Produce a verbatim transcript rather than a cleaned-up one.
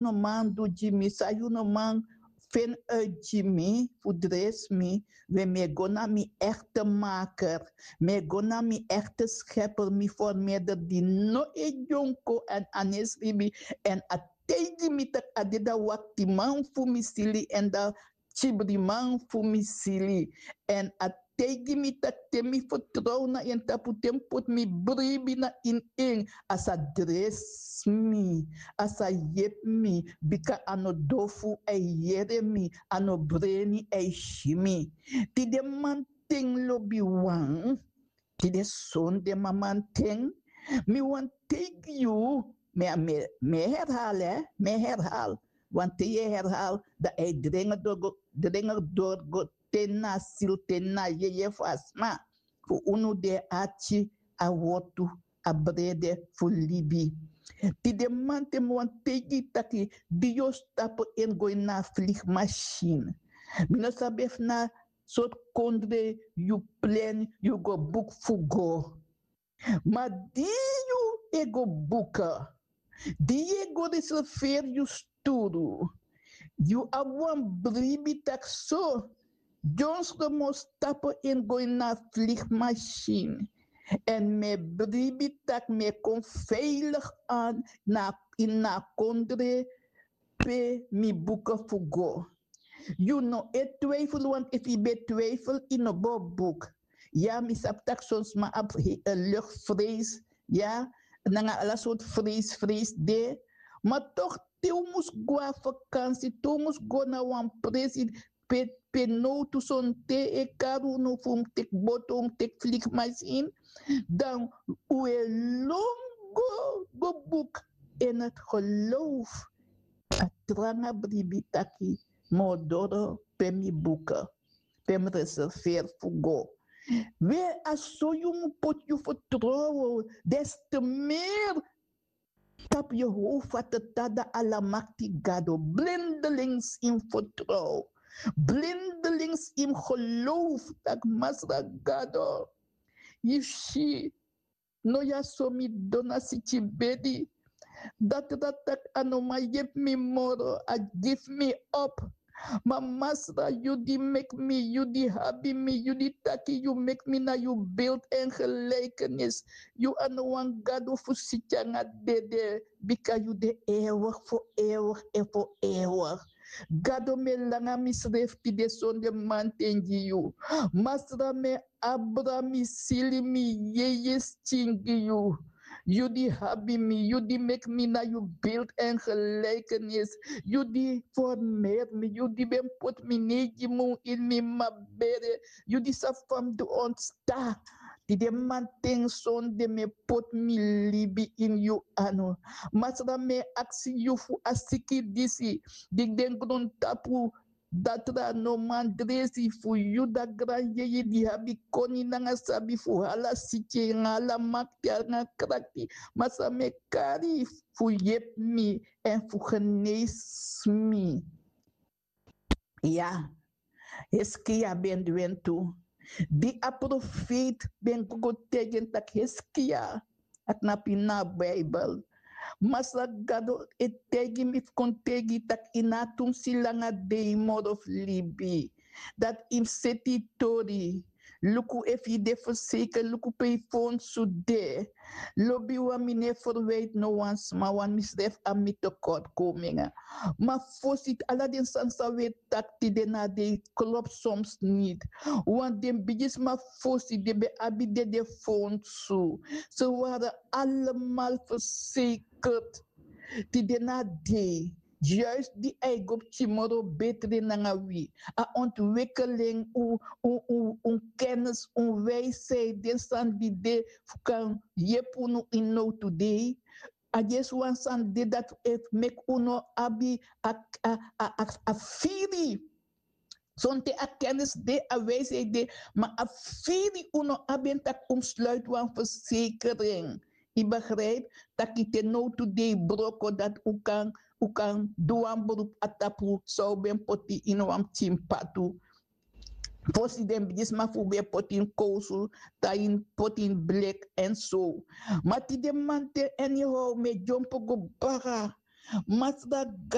no man du gi mi, san yu no man feni uit gi mi fu dresi mi, we mi e go na mi echte maker, mi e go na mi echte scheper, mi formeder di no e dyonko èn a no e sribi, èn a taigi mi tak' a de dan waktiman fu mi sili èn dan kibriman fu mi sili. Èn a taigi mi tak' te mi fertrow na en tapu, te mi poti mi bribi na ini en, a sa dresi mi, a sa yepi mi, bika a no dofu a e yere mi, a no breni a e si mi. Tide manten lobiwan, tide sonde mamanten, mi wani taigi yu, mi, mi, mi e herhaal, hè, mi e herhaal. Want te yu e herhaal, dan a e drenger doro go, drenger doro go te na a sili, te na a yeye fu a sma. Fu unu di e arki a wortu, a brede fu libi. Tide manten mi wani taigi yu taki, di yu o stapu en go ini a vliegmachine. Mi no sabi efu na sortu kondre yu plan, yu go buku fu go. Ma di yu e go buku, di yu e go reserveri yu sturu, yu abi wan bribi taki so, dyonson mi o stapu en go ini a vliegmachine. Èn mi e bribi tak' mi e kon veilig an na, ini a kondre pe mi buku fu go. Yu no e twijfel, want efu yu ben twijfel, yu no bo buku. Ya, mi sabi tak' son sma abi luchtvrees, ya, nanga ala sortu vrees, vrees de. Ma toch, te un mus go na vakansi, te un mus go na wan presi pe, pe nowtu sonten e kari unu fu un mus teki boto, un mus teki vliegmachine, dan un e lon go, go buku in het geloof. A tranga bribi taki mi o doro pe mi buku, pe mi reserveri fu go. We, a so yu mus poti yu fertrowen, des te meer tapu Jehovah Tata, de Almakti Gado. Blindelings yu mus fertrow. Blindelings yu mus geloof tak' Masra Gado, yu si, no, ya so mi dona siki bedi. Dati dati taki a no man yepi mi moro, a gi fu mi op. Ma Masra, yu di meki mi, yu di abi mi, yu di taki yu meki mi na yu beeld en gelijkenis. Yu a no wan Gado fu siki nanga dede, bika yu de eeuwig, voor eeuwig en voor eeuwig. Gado, mi e langa misrefi tide sonde manten gi yu. Masra, mi e abra mi sili, mi yeye skin gi yu. Yu di abi mi, yu di meki mi na yu beeld en gelijkenis. Yu di formeri mi, yu di ben poti mi neigi mun ini mi mama bere. Yu di sabi fa mi du ontstaan. Tide manten sonde mi e poti mi libi ini yu anu. Masra, mi e aksi yu fu a siki disi di de na grontapu, dati a no man dresi, fu yu, a granjeje di abi koni nanga sabi fu ala siki nanga ala makti nanga krakti. Masra, mi e kari fu yepi mi èn fu genesi mi. Ya, Hiskia ben du en tu. Di a profeiti ben go taigi en taki, Hiskia, a knapu ini a Bijbel. Masra Gado e taigi mi fu kon taigi yu taki yu no abi tu mus si langa dei moro fu libi. Dati yu mus seti yu tori. Luku efu yu de verzekerd, luku pe yu fondsu de. Lobiwan, mi no e verwijt no wan sma, want misrefi abi mi tekortkomingen. Ma fosi, ala den sani san wi e taki tide na dei klopu soms niet. Want den bigisma fosi den ben abi dede fondsu. Ze waren allemaal verzekerd. Tide na dei, juist di a e go pikin moro betre nanga wi. A ontwikkeling, un, un, un, un kennis, un wijsheid, den sani di de fu kan yepi unu ini nowtu dei. A yesi wan sani de dati e meki un no abi a, a, a, a, a firi. Sonten a kennis de, a wijsheid de, ma a firi un no abi en taki un mus sluiti wan verzekering. Yu begrijp, taki te nowtu dei broko dati un kan, un kan du wan beroep a tapu san un ben poti ini wan pikin patu. Fosi den bigisma fu un ben poti ini kowsu, dan yu poti ini blek èn so. Ma tide manten, anyhow, mi e dyompo go baka. Masra,